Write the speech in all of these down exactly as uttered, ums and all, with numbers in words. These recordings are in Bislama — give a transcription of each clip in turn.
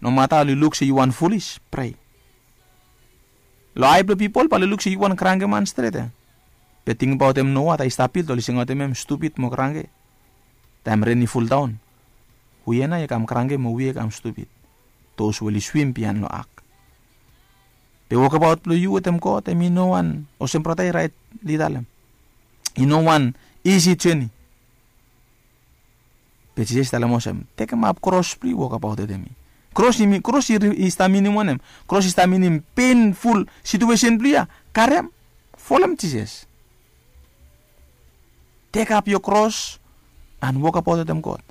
Nomata oli luk se yu wan folis, prea. Long ai blong pipol bae oli luk se yu wan kranke man stret ya. Be tingbaot hem noa ta i stap bilto oli singaotem hem stupid mo kranke. Taem ren i fuldaon, wi ya nao i kam kranke mo wi i kam stupid. Dos we oli swim biaen long ak. Be wokabaot blong yu wetem god hem i no wan olsem brata i raet li talem, i no wan isi jeni. Be jisas i talem olsem, tekemap kros blong yu wokabaot wetem mi. Kros i stap minim wanem? Kros i stap minim penful situesen blong yu ya. Karem, folem jisas. Tekap yo kros an wokabaot wetem god.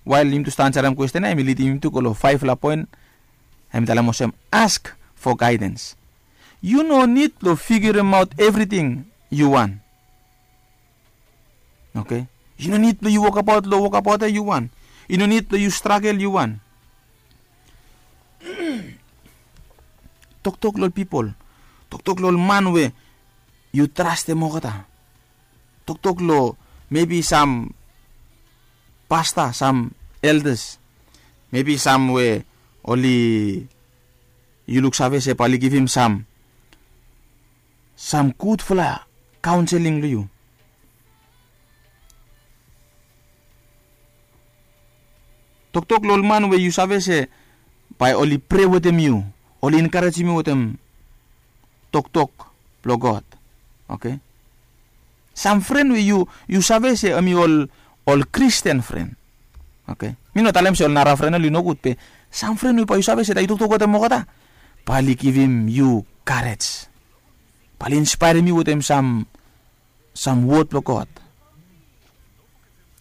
Wael yumi tu stap ansarem kwesten ya hem i lidim yumi tu go long faefala poen. Hem i talem olsem, ask fo gaedens. Yu no nid blong figiremaot evriting yu wan. Oke. Yu no nid blong yu wokabaot long wokabaot ya yu wan. Yu no nid blong yu stragel yu wan. Toktok long ol pipol, toktok long ol man we yu trastem olgeta. Toktok long mebi sam pasta, sam eldas, mebi sam we oli yu luksave se bae oli givim sam sam gudfala kaonseling long yu. Toktok long ol man we yu save se bae oli prea wetem yu, oli enkarejem yu wetem toktok blong god. Oke. Sam fren we yu save se hem i ol kristen fren. Oke. Mi no talem se ol nara fren oli nogud be sam fren we bae yu save se ta yu toktok wetem olgeta, bae oli givim yu karej, bae oli inspaerem yu wetem sam sam wod blong god.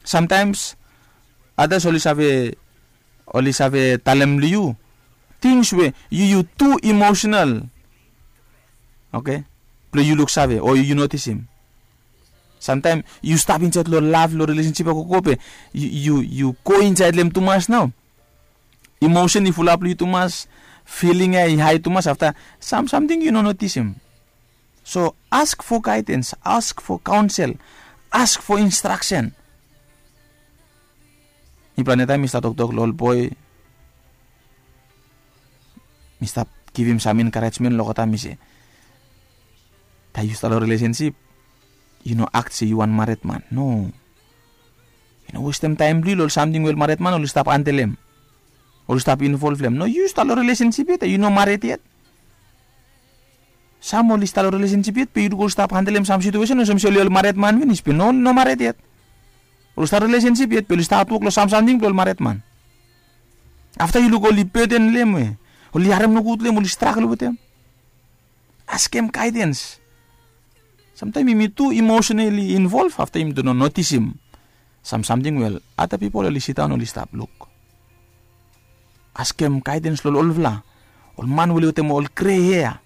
Samtaems adas oli save oli save talem long yu tings we yu yu tu imosenal. Oke. Blong yu luksave o yu notisim. Samtaem yu stap insaed long lav long rilesensip ya gogo be yu go insaed long hem tumas nao. Imosen i fulap long yu tumas. Filing ya i hae tumas afta sam samting yu no notisim. So ask fo gaedens, ask fo kaonsel, ask fo instraksen. Mipela netaem mi stap toktok long ol boe mi stap givim sam enkarejmen long olgeta mi se, taem yu stap long rilesensip yu no akt se yu wan maredman. No. Yu no westem taem blong yu long ol samting we ol maredman oli stap andelem, oli stap involvlem. No, yu stap long rilesensip yet ya yu no mared yet. Sam oli stap long rilesensip yet be yu lukaot oli stap andelem sam situesen olsem se oli ol maredman finis be no, oli no mared yet. Oli stap rilesensip yet be oli stap wok long sam samting blong ol maredman. Afta yu luk oli beden long hem we oli harem nogud long hem, oli stragel wetem. Askem gaedens. Samtaem yumi tu imosenali involv afta yumi tu no notisim sam samting we ol ada pipol oli sidaon oli stap luk. Askem gaedens long ol olfala, ol man we oli wetem ol gre hea.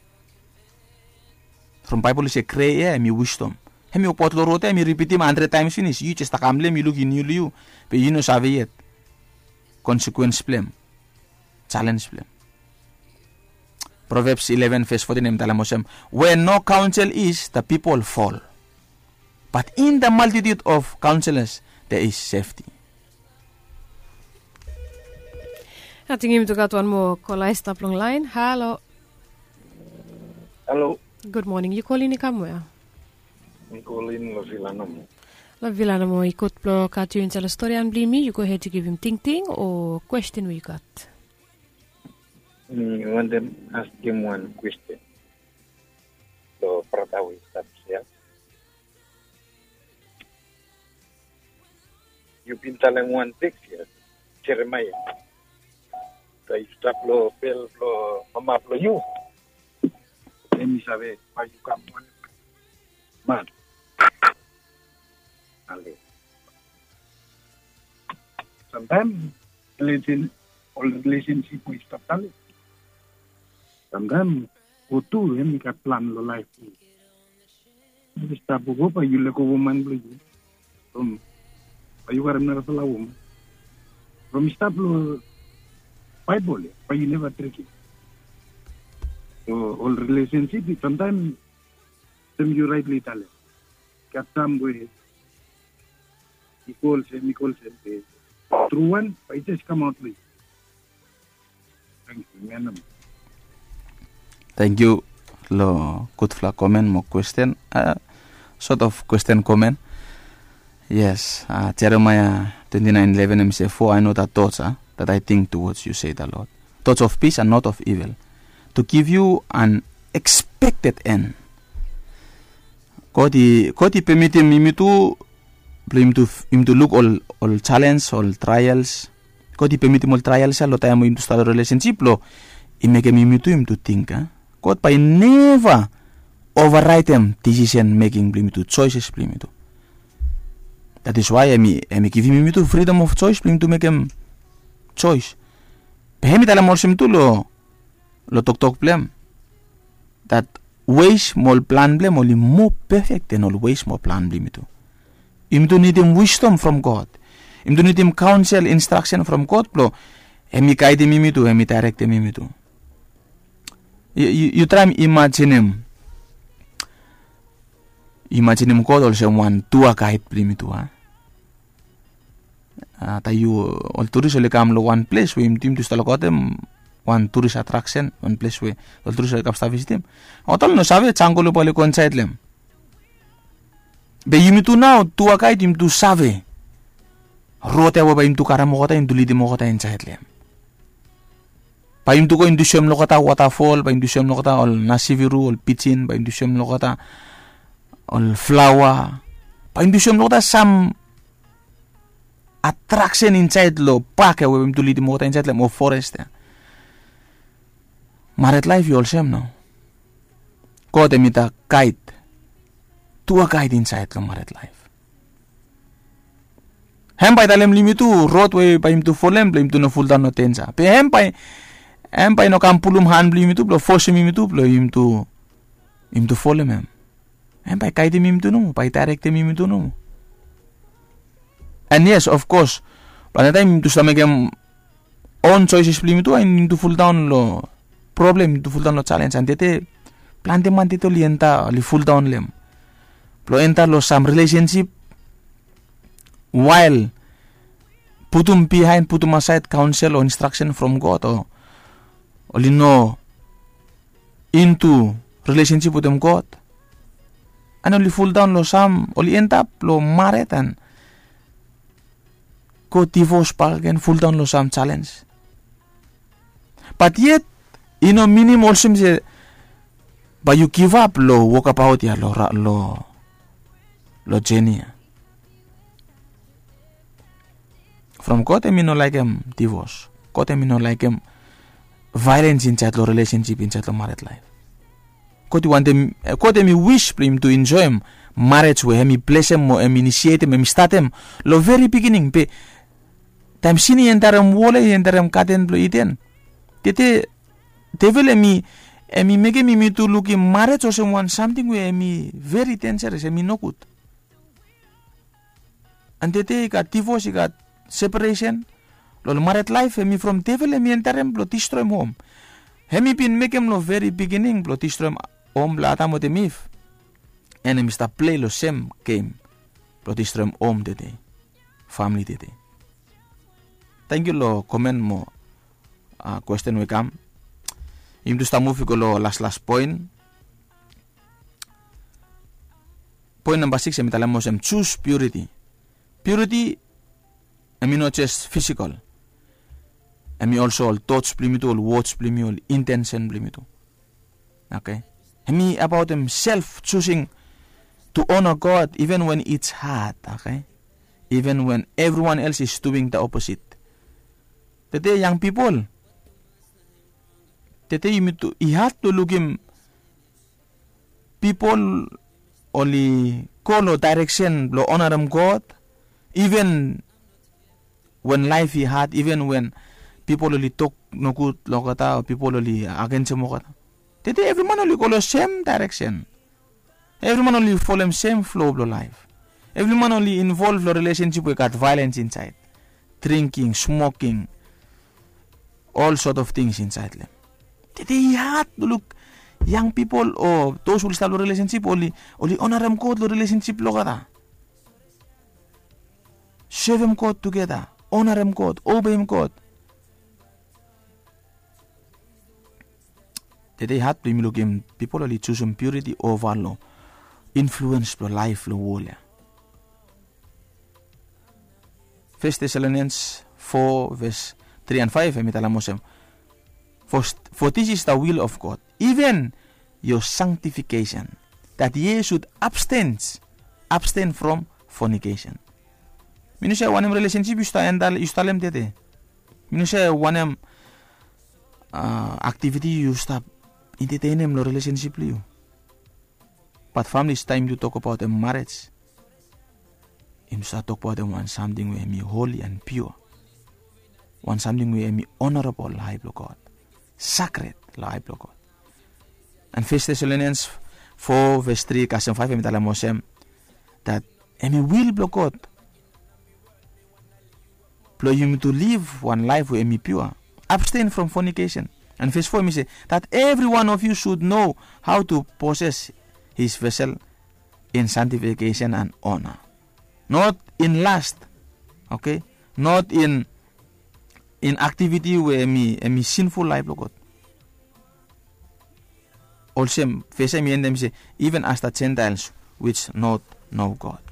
From baebol i se gre hea hem i wisdom. Hem i wokbaot long rod ya hem i ripitim handred taems finis, yu jes takam long hem yu luk i niu long yu, be yu no save yet konsekwens blong hem, jalens blong hem. Provebs eleven ves fotin hem i talem olsem, wea no kaonsel is da pipol fol, bat in da maltitut of kaonselas de is sefti. Ating yumi tu gat wan moa kola i stap long lain. Halo. Halo. Gud moning. Yu kolin i kam wea? Mi kolin long vila nomo. Long vila nomo. I gud blong gat yu insait long storian blong yumi. Yu gohed yu givim tingting o kwesten we yu gat. Mi wantem askem wan kwesten long brata we i stap hia. Yu bin talem wan teks ya, Jeremaia. Taem yu stap long bel blong mama blong yu, hem i save bae yu kam wan man. Ale. Samtaem rilesen, ol rilesensip we i stap talem. Samtaem go tu hem i gat plan long laef blong yu. Yu stap wowo bae yu lego woman blong yu. From bae yu karem narafala woman. From i stap long Baebol ya bae yu neva dregem. So ol rilesensip i samtaem olsem yu raetli talem. Gat sam we i go olsem, i go olsem be tru wan bae i jes kamaot long yu. Thank you long gudfala komen mo kwesten. Sort of kwesten komen. Yes, Jeremiah twenty nine eleven em se, "For I know the thoughts that I think towards you, say the Lord, thoughts of peace and not of evil, to give you an expected end." God i pemitim yumi tu blong yumi tu luk ol challenge, ol trials. God i pemitim ol trials ya long taem we yumi tu stap long relationship blong i mekem yumi tu yumi tu ting. God bae i neva override em decision making blong yumi tu, choices blong yumi tu. That is why em i givim yumi tu freedom of choice blong yumi tu mekem choice. Be em i talem olsem tu long toktok blong em, that ways mo ol plan blong em oli moa perfect than ol ways mo ol plan blong yumi tu. Yumi tu nidim wisdom from God. Yumi tu nidim counsel, instruction from God blong em i guidim yumi tu, em i directim yumi tu. Yu traem imajinim imajinim God olsem wan tour guide blong yumi tu a. Taem yu ol turis oli kam long wan ples we yumi tu stap long God em, wan turis attraction, wan ples we ol turis oli kam stap visitim, olgeta oli no save jangol we bae oli go insaed long em. Be yumi tu nao tour guide yumi tu save rod ya we bae yumi tu karem olgeta, yumi tu lidim olgeta insaed long em. Bae yumi tu go yumi tu soem long olgeta waterfall, bae yumi tu soem long olgeta ol nasiviru, ol pijin, bae yumi tu soem long olgeta ol flower, bae yumi tu soem long olgeta sam attraction insaed long park ya we bae yumi tu lidim olgeta insaed long em, o forest ya. Married life i olsem nao. God em i the guide, tour guide insaed long married life. Em bae i talem long yumi tu rod we bae yumi tu folem blong yumi tu no fuldaon long danger. Be em bae em bae i no kam pulum han blong yumi tu blong fosem yumi tu blong yumi tu folem em. Em bae i guidim yumi tu nomo, bae i directim yumi tu nomo. And yes, of course, plante taem yumi tu stap mekem own choices blong yumi tu, and yumi tu fuldaon long problem, yumi tu fuldaon long challenge. And tede plante man tede oli enta, oli fuldaon long em blong enta long sam relationship while putum bihaen, putum asaed counsel o instruction from God, o oli no into relationship wetem God. And oli fuldaon long sam, oli end up long married and go divorce bakegen, fuldaon long sam challenge. Bat yet i no minim olsem se bae yu givap long wokabaot ya long jeni ya. From God em i no laekem divorce. God em i no laekem violence insaed long relationship, insaed long married life. God i wantem, God em i wis blong yumi tu enjoem marriage we em i blesem o em i inisietem, em i statem long veri bigining. Be taem sin i enterem wol ya, i enterem gaden blong Iden, tede devil em i mekem yumi tu lukim marriage olsem wan samting we em i veri dangerous, em i nogud. And tede i gat divorce, i gat separation long ol married life, em i from devil em i enterem blong distroem hom. Em i bin mekem long veri bigining blong distroem hom blong Adam wetem Iv. And em i stap plei long sem gem blong distroem hom tede, famili tede. Tangkiu long komen mo kwesten we i kam. Yumi tu stap muv i go long laslas poen. Poen namba sikis em i talem olsem, choose purity. Purity em i no jes fisikol. Em i olsem ol tots blong yumi tu, ol wods blong yumi, ol intensen blong yumi tu. Oke. Em i abaot em self choosing to honor God even when it's hard, oke? Even when everyone else is doing the opposite. Tede yang pipol, tede yumi tu i had blong lukim pipol oli go long daereksen blong onarem God, even wen laef i had, even wen pipol oli tok nogud long olgeta o pipol oli agensem olgeta. Tede evri man oli go long sem daereksen. Evri man oli folem sem flo blong laef. Evri man oli involv long rilesensip we gat vaelens insaed, dringking, smoking, ol sot of tings insaed long em. Tede i had blong luk yang pipol o dos we oli stap long rilesensip oli, oli onarem God long rilesensip blong olgeta. Sevem God tugeta, onarem God, obeim God. Tede i hat blong yumi lukim pipol oli jusum piuriti ova long influens blong laef long wol ya. Fes Tesalonians fo ves tri an faef em i talem olsem, for, for this is the will of God, even your sanctification, that ye should abstain, abstain from fornication. Mi no save wanem relesensip yu stap entalem tede. Mi no save wanem aktiviti yu stap entetenem long relesensip blong yu. Bat famili, taem yu tokabaotem marej, yu stap tokabaotem wan samting we em i holi an piua, wan samting we em i onorabol long ai blong God, sakred long ai blong God. An Fes Tesalonians fo ves tri kasem faef em i talem olsem, dat em i wil blong God blong yumi tu liv wan laef we em i piua. Abstain from fornication. An ves fo em i se, that every one of you should know how to possess his vessel in sanctification and honor, not in lust. Okay? Not in, in activity we em i, em i sinful laef blong God. Olsem ves ya em i endem i se, even as the Gentiles which not know God.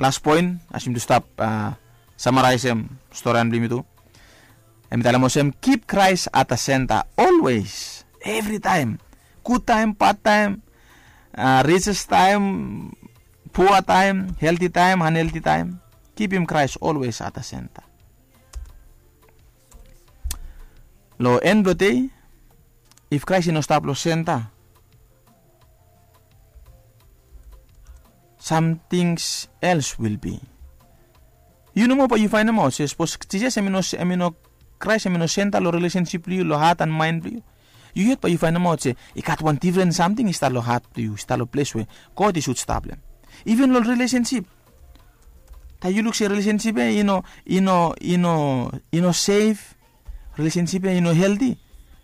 Las poen, as yumi tu stap samaraesem storian blong yumi tu, em i talem olsem, keep Christ at the center always, evri taem. Gud taem, bad taem, riches taem, pua taem, helti taem, anhelti taem, kipim Christ always at the center. Long en blong dei, if Christ i no stap long senta, some things else will be. Yu nomo bae yu faenemaot se sapos Jisas em i no, em i no, Christ em i no senta long relesensip blong yu, long hat an maen blong yu, yu yet bae yu faenemaot se i gat wan difren samting i stap long hat blong yu, i stap long ples we God i sud stap long hem. Even long relesensip, taem yu luk se relesensip ya i no, i no, i no, i no sef, relesensip ya i no helti,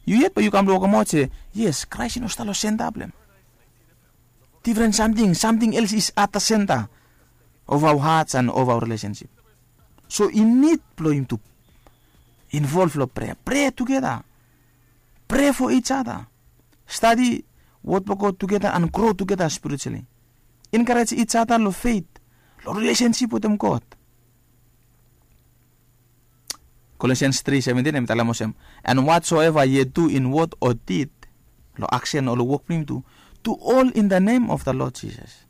yu yet bae yu kam long wokemaot se, yes, Christ i no stap long senta blong hem. Difren samting, something else is at the center of our hearts and of our relationship. So i nid blong yumi tu involve long prea. Prea tugeta. Prea for each other. Stadi wod blong God tugeta and grow tugeta spiritually. Encourage each other long faith, long relationship wetem God. Colossians three seventeen em i talem olsem, and whatsoever ye do in word or deed, long action o long wok blong yumi tu, do all in the name of the Lord Jesus,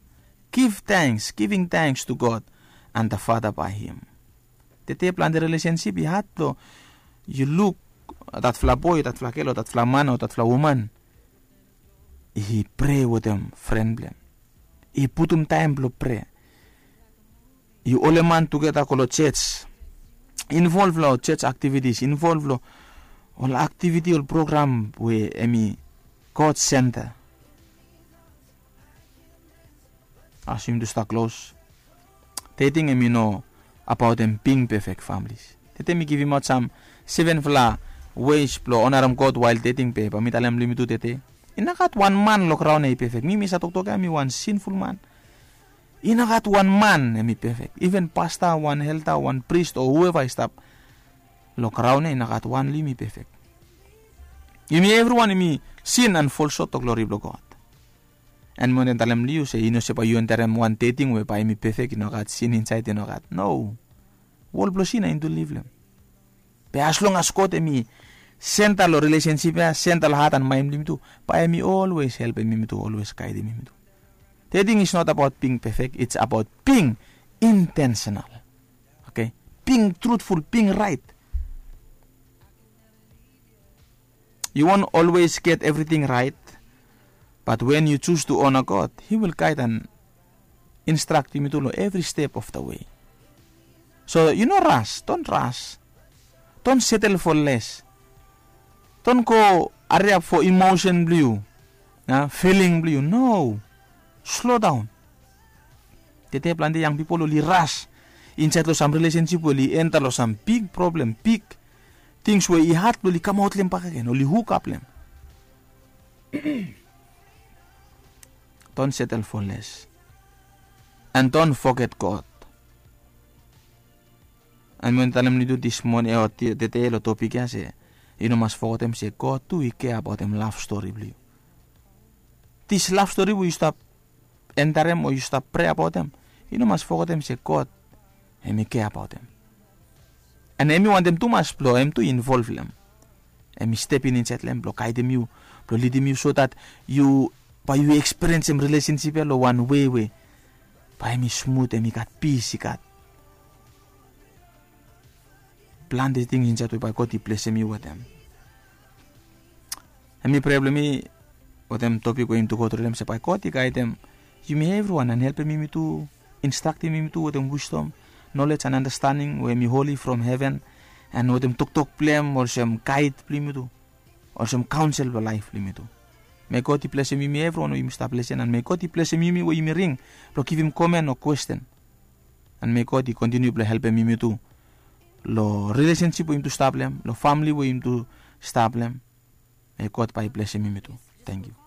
give thanks, giving thanks to God and the Father by him. Tede plante relationship i had blong yu luk datfala boe, datfala gel o datfala man o datfala woman i prea wetem fren blong hem, i putum taem blong prea, i holem han tugeta go long jos, involve long jos activities, involve long ol activity, ol program we em i God center. As yumi tu stap klos, dating em i no abaotem bing perfect, families. Tede mi givimaot sam sevenfala ways blong onarem God while dating, be bae mi talem long yumi tu tede, i no gat wan man long graon ya i perfect. Mi, mi save toktok ya mi wan sinful man. I no gat wan man em i perfect. Even pasta, wan elda, wan pris o whoever i stap long graon ya, i no gat wan long yumi i perfect. Yumi evriwan yumi sin and fall short of glory blong God. And mi wantem talem long yu se i no se bae yu enterem wan dating we bae em i perfect, i no gat sin insaed, i no gat. No. Wol blong sin ya yumi tu liv long hem. Be as long as God em i senta long relationship ya, senta long hat and mind blong yumi tu, bae em i always helpem yumi tu, always gaedem yumi tu. Dating is not about being perfect, it's about being intentional. Okay? Being truthful, being right. You won't always get everything right, but when you choose to honor God, he will guide and instruct yumi tu long every step of the way. So yu no rush, don't rush. Don't settle for less. Don't go hurry up for emotion blong yu, feeling blong yu. No. Slow down. Tede plante yang pipol oli rush insaed long sam relationship we oli enta long sam big problem, big things we i had blong oli kamaot long hem bakegen, oli hook up long hem. Don't settle for less. And don't forget God. And mi wantem talem long yu tu this morning o tede long topic ya se, Yu no mas fogetem se God tu i kea abaotem lav stori blong yu. Dis lav stori we yu stap entarem o yu stap prea abaotem, yu no mas fogetem se God em i kea abaotem. An em i wantem tumas blong em tu i involv long em. Em i stepin insaed long em blong gaedem yu, blong lidim yu so dat yu bae yu ekspiriensem rilesensip ya long wan wei we bae em i smut, em i gat pis, i gat plante tings insaed we bae God i blesem yu wetem. Em i prea blong mi wetem topik we yumi tu go tru long em se bae God i gaedem yumi evriwan an helpem yumi tu, instraktem yumi tu wetem wisdom, nolej an andastanding we em i holi from heven, an wetem toktok blong em olsem gaed blong yumi tu, olsem kaonsel blong laef blong yumi tu. Me God i blesem yumi evriwan we yumi stap lesen, an me God i blesem yumi we yumi ring blong givim komen o kwesten. An me God i kontiniu blong helpem yumi tu long rilesensip we yumi tu stap long em, long famili we yumi tu stap long em. Me God bae i blesem yumi tu. Tangkiu.